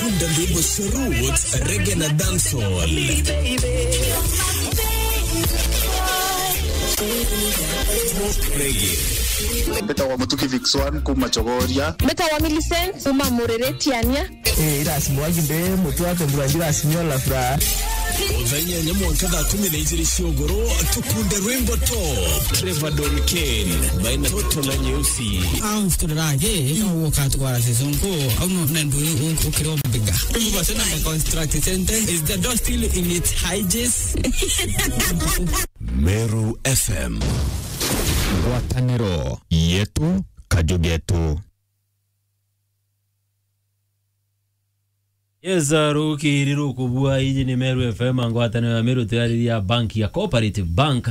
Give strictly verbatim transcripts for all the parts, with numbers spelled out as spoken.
Kunda ndwimbo cia roots, reggae na dancehall. Reggae. Mbetawa Mutuki Vix One kuma Chogoria. Mbetawa Millicent kuma Murere Tiania. Eh, irasi mwagi mbe mutu ate mbura njira sinyo la furaha. Thaa inyanya mwanka thaa kumi na ijiri cia ugoro, tukunde rwimbo top. Trevor Don Kane, baina Toto na Nyeusi. Au mfuturaje, ika uka twara season ko, au no, na ndu u-, u-, ukiro mbiga. Uba sena the construct center, is the door still in its hinges? Meru F M. Ngwatanĩro yetu, kaju getu. Yes, uh, rukiri rukubua, iji ni Meru F M, ngwataniro ya Meru, tuyariria bank ya Cooperative Bank.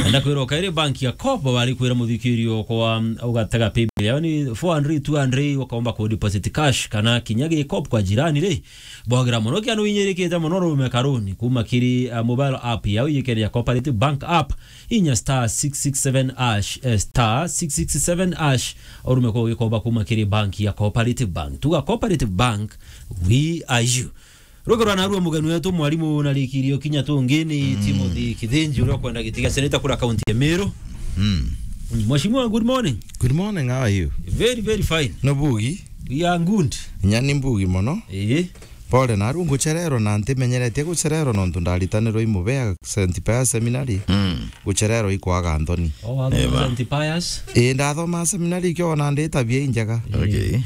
Enda kwira ukairi bank ya Coop, bari kwira muthikirio kwa, um, ugatega paybill yao ni four hundred, two hundred, ukaomba ku deposit cash, kana kinya gi Coop kwa jirani ri, bogira muno, kianu inyirikite muno, rume karuni, kuma kiri, uh, mobile app yao, iyikene ya Cooperative Bank app, inya star six six seven hash, eh, star six six seven hash, urume kwa ugikomba kuma kiri bank ya Cooperative Bank. Tuga Cooperative Bank, we are you. Ruge rwa narua mugeni wetu, mwarimu na rikirio kinya tungi ni Timothy Kithinji, uria ukwenda giti gia seneta kura kaunti ya Meru. Mm. Mm, Mheshimiwa, good morning. Good morning, how are you? Very, very fine. No bugi? We are good. Nyani mbugi mono. Ii. Pole, naru ngucererwa na ntimenyeretie gucererwa nontu ndaritanirwa i Mubea Saint Pius Seminary. Mm. Gucererwa ikwaga nthoni. Oh, wathoma Saint Pius? Ii, ndathoma seminary ikio ona ndi tabia injega. Okay.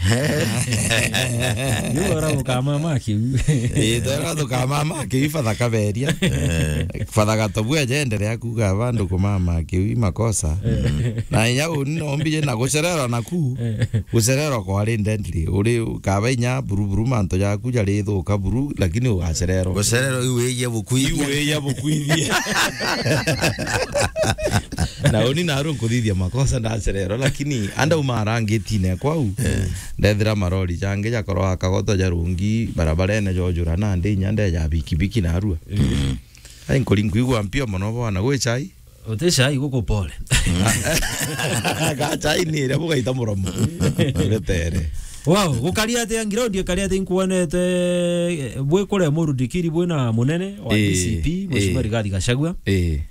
Yu ora ukamama kiu. Ii, twera tukamama kiu, Father Kaberia. Eh. Father Gatobu ajenderea kuga bandu kumama kiu i makosa. Eh. Na inya uni no mbije na gucererwa naku. Eh. Gucererwa kwari deadly. Uri kaba inya buruburu mantu jaku jarithuka buru, lakini ugacererwa. Gucererwa iu wija bukwithia. Iu wija bukwithia. Na uni naru nkuthithia makosa ndacererwa, lakini anda uma arangitine kwau. Eh. Ndethira marori jangi jakorwa akagoto jarungi barabarene jojura nandi inya ndeja bikibiki narua. Eh. Ai nkuri nkuigua mpio mono bwana, gwi chai? Uti chai guku pole. Ga chai ni iria bugaita muromo. Betere. Wow, gukari atia ground, ikari atia inkuonete, eh, bwi kuria Murudikiri bwina munene wa Ii, D C P, Mheshimiwa ii. Rigathi Gachagua. Ii.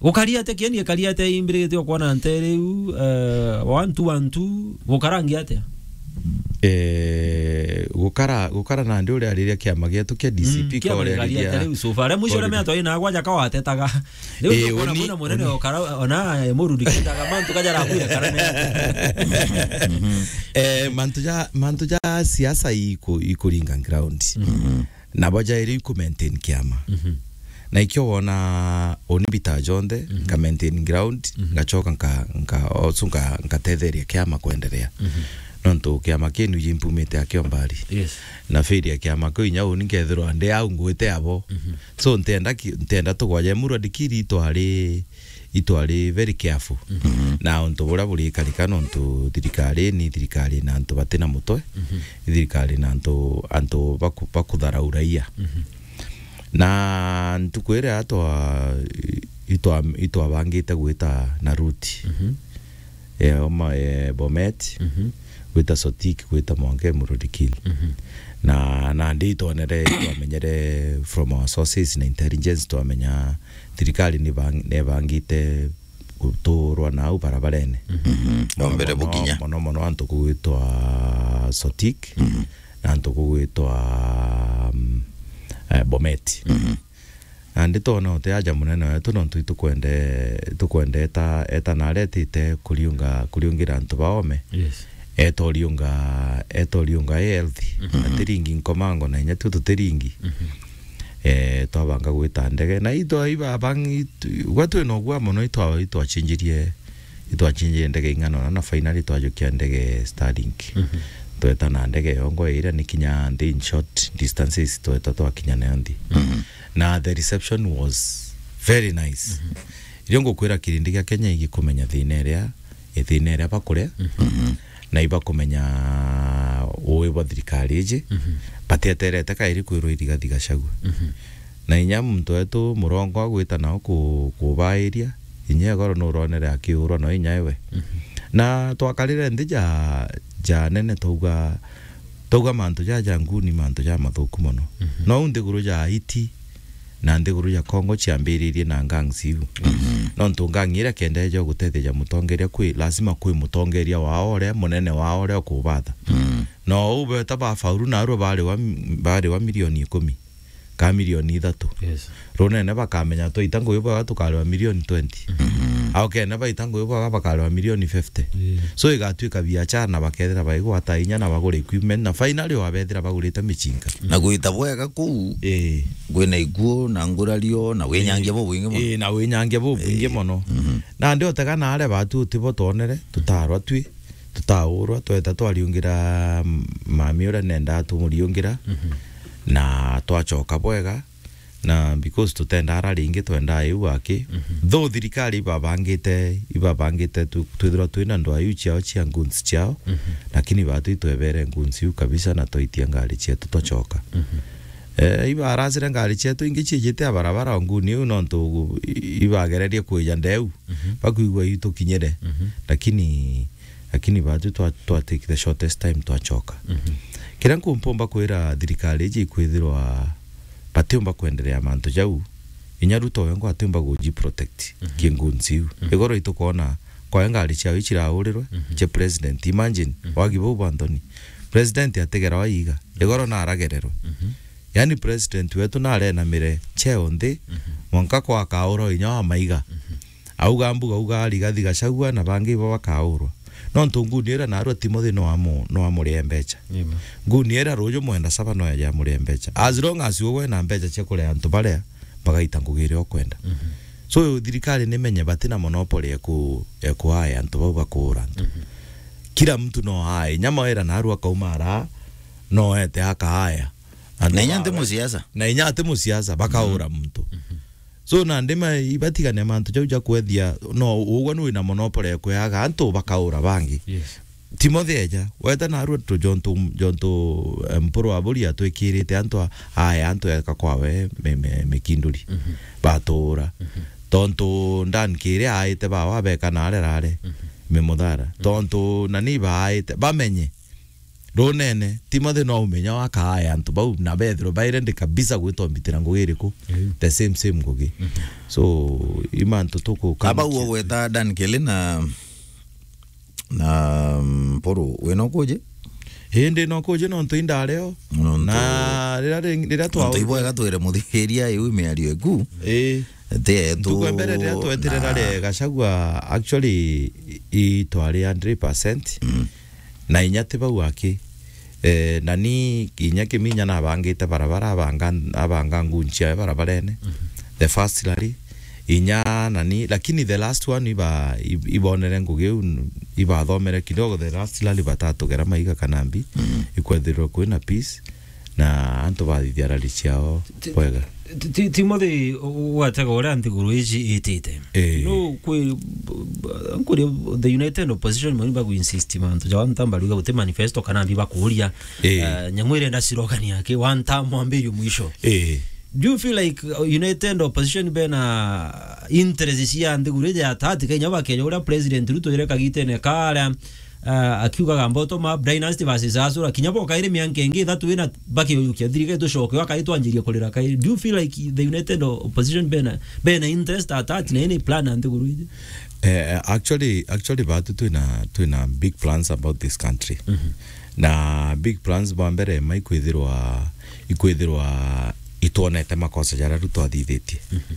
Gukari atia kieni, ikari atia imbirigite okwana ntere iu, eh, one two one two, gukarangi atia? Eh, gukara, gukara nandi uria ariria kiama gietu kia D C P. Mm, kiama gikari atia riu so far? Aria mwisho uria miatwa ina gwaja kawatetaga. Riu eh, ukona uni, kwina munene uni. Okara, ona, eh, Murudikitaga mantu kajara kwira karane. Eh, mantu ja, mantu ja siasa iku-, ikuringa ground. Mhm. Nabo jairi ku maintain kiama. Mhm. Na ikio wona uni mbita jonthe, mhm, nka maintain ground, mhm, ngachoka nka, nka, also nka, nkatetheria kiama kwenderea. Mhm. Nontu kiama kienu jimpumite akio mbari. Yes. Na failure ya kiama kiu inya uni nkethirwa ndi au ngwite abo. Mhm. So ntenda ki-, ntenda tugwaje murwa dikiri itwari itwari very careful. Mhm. Na untu buria burikarika nontu thirikari ni thirikari na antu batina mutwe, mhm, thirikari na antu, antu baku-, bakutharaura raia. Mhm. Na ntuku iria twa-, itwa-, itwabangite gwita na route, mhm, eh, oma, eh, Bomet, mhm, gwita Sotik, gwita mwanka Murudikil. Mhm. Na, na ndi itwonere, itwamenyere from our sources na intelligence, twamenya thirikari ni bang-, nebangite guturwa nau barabarene. Mhm. Mhm. Mono, ombere mono, bukinya. Mono mono antu kugwitwa Sotik, mhm, na antu kugwitwa, mm, eh, Bomet. Mhm. Na ndi twona uti aja munene wetu nontu itukwende, itukwende eta, eta na aria etite kuriunga, kuriungira antu baome. Yes. Eta uriunga, eta uriunga i healthy. Mhm. Atiringi nkomango na inya tu tutiringi. Mhm. Eh, twabanga gwita ndege. Na itwa ibabangi, gwa twina ugwa mono itwa, itwachinjirie, itwachinjirie ndege ing'ana na, na finally twajukia ndege Starlink. Mhm. Tweta na ndege yongo iria ni kinya nthi in short distances tweta twakinya nayo nthi. Mhm. Na the reception was very nice. Mhm. Irio ngukwira kirindi gia Kenya igikumenya thina iria, thina iria bakuria. Mhm. Na ibakumenya ui bwa thirikari iji, mhm, batieterete kairi kwirwa iriga thigacagua. Mhm. Na inya muntu wetu murongo agwita nao ku-, kubairia, inya igoro nuronere akiurwa no inya iwe. Mhm. Na twakarire nthi ja, ja nene twauga, Twauga mantu jaja nguni, mantu ja mathuku mono. Mhm. No u nthiguru ja Haiti na nthiguru ja Congo ciambiririe na gangs iu. Mhm. Nontu gang iria kendeja gutetheja mutongeria, kwi lazima kwi mutongeria wao uria munene wao uria ukubatha. Mhm. No u beta bafaulu narua bari wa, bari wa milioni ikumi ka milioni ithatu. Yes. Runene bakamenya twaita ngugi bwega tukariwa milioni twenty. Mhm. Au kene baita ngugi bwega bakariwa milioni fifty. Yeah. So igatuika biachara na bakethira baigwata inya na bagure equipment na finally wabethira bagurite michinga. Na gwita bwega kuu, eh, kwina ikuo na ngurario na winyangia bubwingi mono. Eh, na winyangia bubwingi, eh, mono. Mhm. Na ndi utega na aria batu utibo twonere, tutarwa twi, tutaurwa, tweta twariungira mami uria nendaa tumuriungira, mhm, na twacoka bwega. Na because tutendaa ara ringi, twendaa iu aki. Mhm. Though thirikari ibabangite, ibabangite tu-, twithirwa twina ndwaa iu ciao cia goons ciao, mhm, lakini batu itwebere goons iu kabisa na twaitia ngari cietu twacoka. Mhm. Eh, ibaracire ngari cietu ingi ciijite a barabara o nguni iu nontu i-, ibagererie kwija ndeu, mhm, bakwigua iu tukinyire. Mhm. Lakini, lakini batu twa, twa take the shortest time twacoka. Mhm. Kiria nkumpumba kwira thirikari iji ikwithirwa batiumba kwenderea mantu jau, inya Ruto wengwa atiumba guji protect, mhm, ki goons iu. Mhm. Igoro itukona kwawe ngari ciao iciraurirwe, mhm, cia president. Imagine, mhm, wagi bau bwa nthoni. President atigera waiga, igoro naragererwe. Mhm. Yani president wetu narenamire cheo nthi, mhm, mwanka kwa akaura inya wa maiga. Mhm. Auga mbuga, auga Rigathi Gachagua na bangi ibo bakaurwa. Nontu nguni iria narua Timothy no amu-, no amurie mbecha. Amen. Nguni iria ruju mwenda saba no eje amurie mbecha. As long as ugwe na mbecha cia kuria antu baria, bagaita ngugi iria ukwenda. Mhm. So, thirikari nimenye batina monopoly ya ku-, ya kuaya antu bau bakuura antu. Mhm. Kila mtu no ae. Nyama wera narua akauma ara, no ete akaaya. Antu na inya ba-, nti musiasa. Na inya ati musiasa, bakaura, mhm, muntu. Mhm. So, na ndima ibatigane mantu jau ja kwethia, no, ugwe nwi na monopoly ya kweaga antu bakaura bangi. Yes. Timothy eja, weta narua tu jontu, jontu, eh, Mpuru wa Buri atwikirite antu a-, aya antu eka kwawe mi-, mi-, mikinduri. Mhm. Batura. Mhm. Tontu Dan Kiri aite bawa beka nare rare, mhm, mimuthara. Mhm. Tontu nani baaite, bamenye. Runene, Timothy no umenya wakaaya antu bau, na bethirwe baire ndi kabisa gwitwa mbitira ngugi iriku? Iu. The same, same ngugi. Mhm. So, i mantu tuku- aba uo gweta Dan Kelly na, na, mm, Mpuru, wina ukuji? Ii, ndi na ukuji nontu indareo. Nontu, na rira ring-, rira twa- nontu ibwega twire muthikiria iu miario iku. Ii. Ti yetu. Ntuku ya mbere riria twetirira na ri Gachagua, actually, i-, i twari hundred percent. Mm. Na inya ti bau aki. Eh, nani inya Kiminya nabangite barabara, abanga, abanga ngunchi yawe barabarene. Mhm. The first rally, inya nani, lakini the last one iba-, ib-, ibonere ngugi iu, ibathomere kidogo, the last rally batatugera maiga kana mbi, mhm, ikwethirwe kwina peace. Na antu bathithia rari ciao bwega. Ti-, ti-, Timothy, u-, u-, watega uria nthiguru iji itite. Ii. No kwi, nkuri the United Opposition mani bagu insist mantu ja wantamba riuga guti manifesto kana mbi bakuria. Ii. Eh, nyamu irenda slogan yake, one term mwambirio mwisho. Ii. Do you feel like, uh, United Opposition bena interest cia nthiguru iji ya tati Kenya bakeja uria President Ruto ire kagitene karia ah, akiugaga bottom up, dynasty versus hustler, kinya boka iri mianka ingi ithatu ina bakiyukia thirikari tucoke, akai twanjirie kurira kai. Do you feel like the United Opposition bena, bena interest at heart na any plan ya nthiguru iji? Eh, actually, actually, batu twina, twina big plans about this country. Mhm. Na big plans bwa mbere ma ikwithirwa, ikwithirwa itwonete makosa jaria Ruto athithitie. Mhm.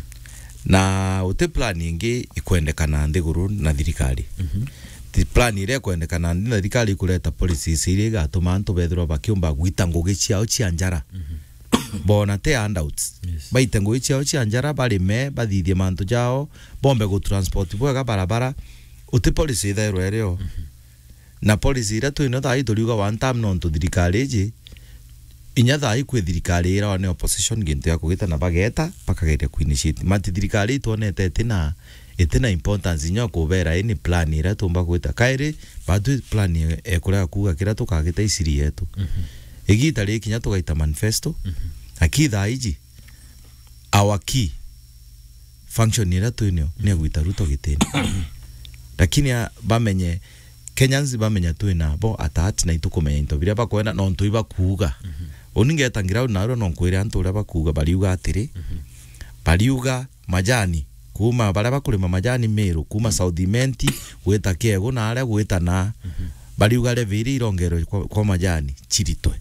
Na uti plan ingi ikwendekana nthiguru na thirikari. Mhm. Ti plan iria ikwendekana nthi na thirikari ikureta policies iria igatuma antu bethirwa bakiumba gwita ngugi ciao cia njara. Mhm. Bona te handouts. Yes. Baite ngugi ciao cia njara, barime, bathithie mantu jao, bombe gu transport bwega barabara. Uti policy ithairwa irio. Mhm. Na policy iria twino thaa ii turiuga one term nontu thirikari iji, inya thaa ii kwi thirikari irawa ni opposition gintu ya kugita na bageta, bakageria kuinitiate. Mati thirikari itwonete itina, itina importance inya kubera ini plan iria tumba gwita. Kairi, batu plan e-, ekurega kuuga kiria tukagita isiri yetu. Mhm. Igita riri kinya tugaita manifesto, mhm, aki thaa iji, our key function iria twinio ni ya gwita Ruto gitini. Lakini a, bamenye Kenyans bamenya twina bo at heart na itukumenya into biria bakwenda nontu ibakuuga. Uni ngeta ground narua no nkwire antu uria bakuuga, bariuga atiri, bariuga majani kuma baria bakurima majani Meru, kuma South Imenti gwita Kiegu na aria gwita na, bariuga levy iria irongerwe kwa, kwa majani ciritwe.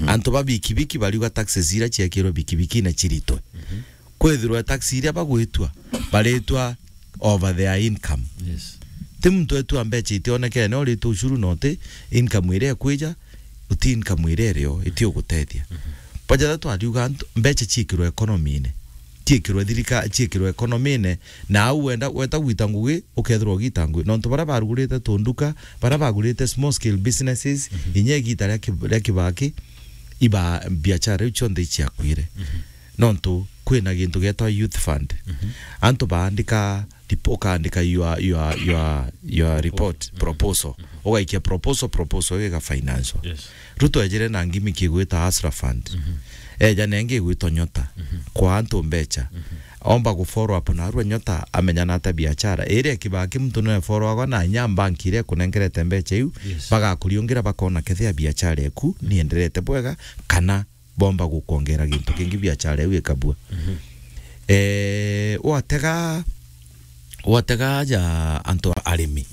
Antu ba bikibiki bariuga taxes iria ciekirwe bikibikine ciritwe. Kwithirwe tax iria bagwitua, baritua over their income. Yes. Ti muntu etua mbeca itionekene, uritu ushuru no ti income iria ikwija, uti income iria irio, iti ugutethia. Bajatha twariuga antu, mbeca ciikirwe economy-ine, ciikirwe thirika-, ciikirwe economy-ine, na au wenda, weta gwita ngugi, ukethirwa ugita ngugi. Nontu baria barugurite tunduka, baria bagurite small scale businesses, inya igita ria ki-, ria Kibaki, iba biachara iu cionthe iciakwire. Nontu kwina gintu gietwa youth fund. Antu baandika rip-, ukaandika your, your, your, your report, proposal. Ugaikia proposal, proposal iga financial. Yes. Ruto ejire na ngimi kigwita Hustler Fund. Eja nengi igwitwa Nyota. Kwa antu mbecha. Omba gu follow up narua Nyota amenya na ata biachara. Iri Kibaki muntu no follow agwa na nya bank iria kunengerete mbecha iu, yes, bagakuriungira bakona kethia biachara eku nienderete bwega kana bomba gukwongera gintu kingi biachara iu ikabua. Eh, watega, watega aja antu a-, arimi.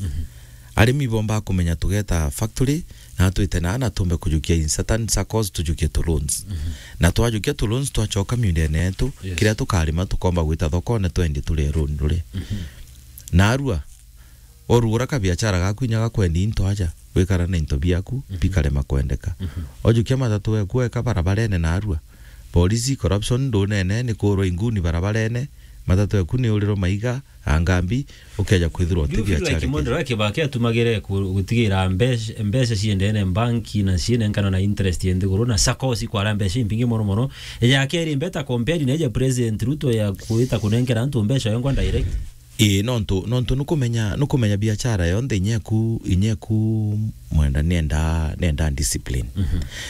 Arimi bomba kumenya tugeta factory, na twite na, na tumbe kujukia in certain circles, tujukie tu loans. Na twajukia tu loans, twachoka miundene yetu, yes, kiria tukarima tukomba gwita thokone twendie turi runi ruri. Narua, orugura kabiachara gaku inya gakwendia into aja, wikara na into biaku, bikarema kwendeka. Ojukia matatu eku eka barabarene narua. Polisi, corruption, ndunene, ni kurwa inguni barabarene, matatu eku ni uriro maiga, angambi, ukeja kwithirwa uti biachara like Mondoro, Kibaki atumagire ku-, gutigira mbeca, mbeca ciendene banki na cienenkanwa na interest ye nthiguru na sakosi kwara mbeca impingi mono mono. Ya keri mbeta compared na ya President Ruto ya kwita kunenkera antu mbeca yongwa direct. Ii, nontu, nontu nukumenya, nukumenya biachara yonthe inyeku, inyeku mwenda nienda, nienda discipline.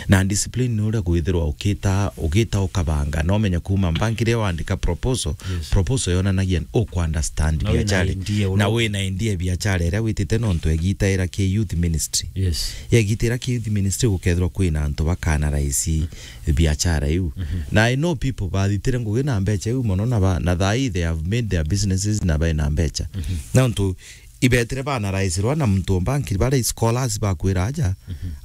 Na discipline ni uria kwithirwa ukita, ukita ukabanga, na umenya kuma mbangi riria wandika proposal, yes, proposal yonanagia uku understand biachara. Na wina idea uria witite nontu egita ira ki youth ministry. Yes. Yegita ira ki youth ministry gukethirwa kwina antu bakana raisi biachara iu. Na I know people bathitire ngugi na mbecha iu mono na ba, na thaa ii they have made their businesses na baina mbecha. Nontu ibetire banaraisirwa na muntu o banki baria scholars bakwira aja,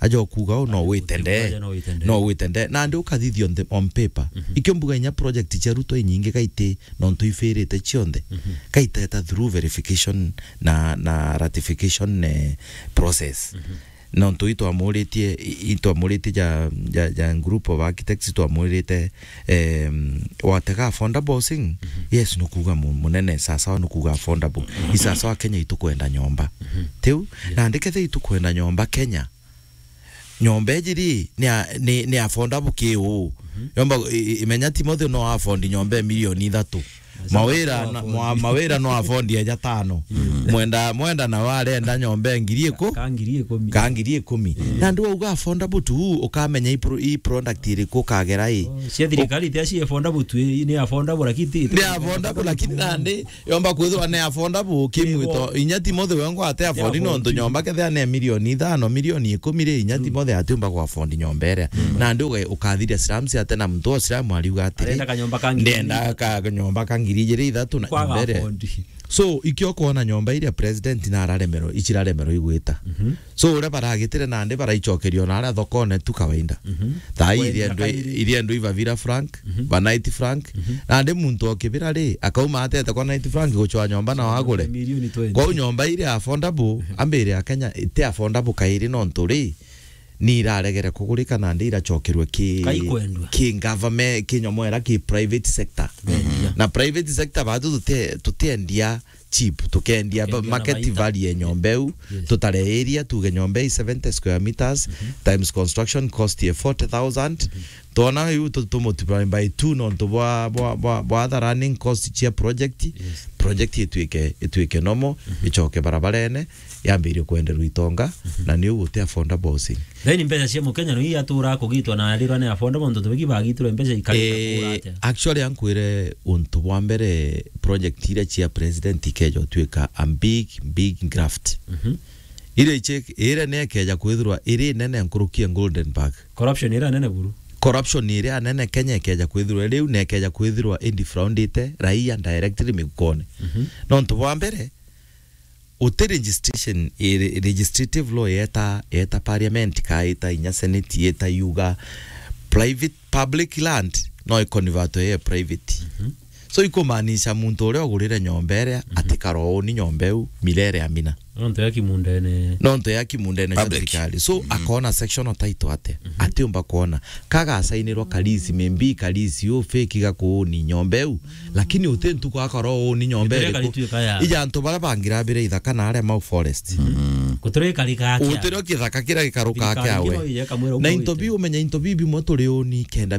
aja okuga u no witende. Aja no witende. No witende. Nandi ukathithio on the, on paper. Ikio mbuga inya project cia Ruto inyingi kaiti nontu ifirite cionthe. Kaiteta through verification na, na ratification, eh, process. Nontu itwamuritie, i-, itwamuritie ja, ja, ja group of architects, twamurite, em, watega affordable housing? Yes, nukuga mu-, munene, sasawa nukuga affordable. I sasawa Kenya itukwenda nyomba. Tiu? Nandi kethe itukwenda nyomba Kenya. Nyomba iji ri, ni a-, ni, ni affordable ki uu? Nyomba, i-, i-, imenya Timothy no afford nyomba ya milioni ithatu. Mawira no, mwa-, mawira no afford eja tano. Mwenda, mwenda na warenda nyomba ya ngiri iku-, ka ngiri ikumi. Ka ngiri ikumi. Nandi wauga affordable tu, ukamenya i pro-, i product iriku ukagera i. Cia thirikari tia ci affordable tu, i-, ni affordable lakini ti, ni affordable lakini nandi yomba kwithirwa ni affordable kimwito. Inya Timothy wengwa ate afford nontu nyomba kethia ni milioni ithano, milioni ikumi ri, inya Timothy atiumba ku afford nyomba iria. Nandi uga-, ukathiria slums ate na muntu o slum ariuga atiri, arenda kanyomba ka ngiri ndenda ka-, kanyomba ka ngiri ijiri ithatu na kwaga nyomba iria afford. So, ikio kwona nyomba iria president na araremerwo, iciraremerwo igwita. So, uria baragitire nandi baraicokerio na aria thokone tu kawaida. Thaa ii iriendwa, iriendwa iba Villa Frank, ba Knight Frank. Nandi muntu o Kibira ri, akauma atete kwa Knight Frank gucwa nyomba na wagure. Milioni twenty. Kwou nyomba iria affordable, ambire ya Kenya, iti affordable kairi nontu ri, ni iraregere kugurika nandi iracokerwe ki-, kaikwendwa. Ki government, ki nyomo ira ki private sector. Na private sector batu tuti-, tutiendia cheap, tukendia ba-, market value ya nyomba iu, tutare area, tuge nyomba i seventy square meters, times construction cost ya forty thousand, twona iu tu-, tu multiply by two nontu bwa, bwa, bwa, bwa other running cost cia project, project itwike, itwike nomo, icoke barabarene, yambirie kwenderwa itonga, na niu guti affordable housing. Then mbeca cia Mukenya no ii atura kugitwa na arirwa ni affordable, nontu tubiki bagitirwe mbeca ikarika kura atia? Eh, actually, ankwire untu bwa mbere, project iria cia president ikeja utuika a big, big graft. Ire iche-, ire nekeja kwithirwa iri nene nkuruki ya Golden Park. Corruption ira nene buru. Corruption iria nene Kenya ikeja kwithirwa riu, na ikeja kwithirwa indifraundite raia directly migukone. Mhm. Nontu bwa mbere, uti registration, i-, legislative law yeta, yeta parliament, ka ita inya senate, yeta yuga private, public land no iconvertwe ye private. Mhm. So ikumaanisha muntu uria ugurire nyomba iria, mhm, atikara uuni nyomba iu milele amina. Nontu ya kimundene. Nontu ya kimundene cia public, thirikari. So, mhm, akona sectional title ate. Mhm. Atiumba kuona. Kagasainirwa kalisi, maybe kalisi u fake gakuuni nyomba iu. Lakini uti ntuku akora uuni nyomba iriku. Ija antu baria bangirabire ithaka na aria mau forest. Mhm. Gutire gikari gake. Gutire kithaka kiria gikaruka thirikari kiawe. Ingĩ no ije ikamwira na into biu, umenya into biu bimwe turi uuni kenda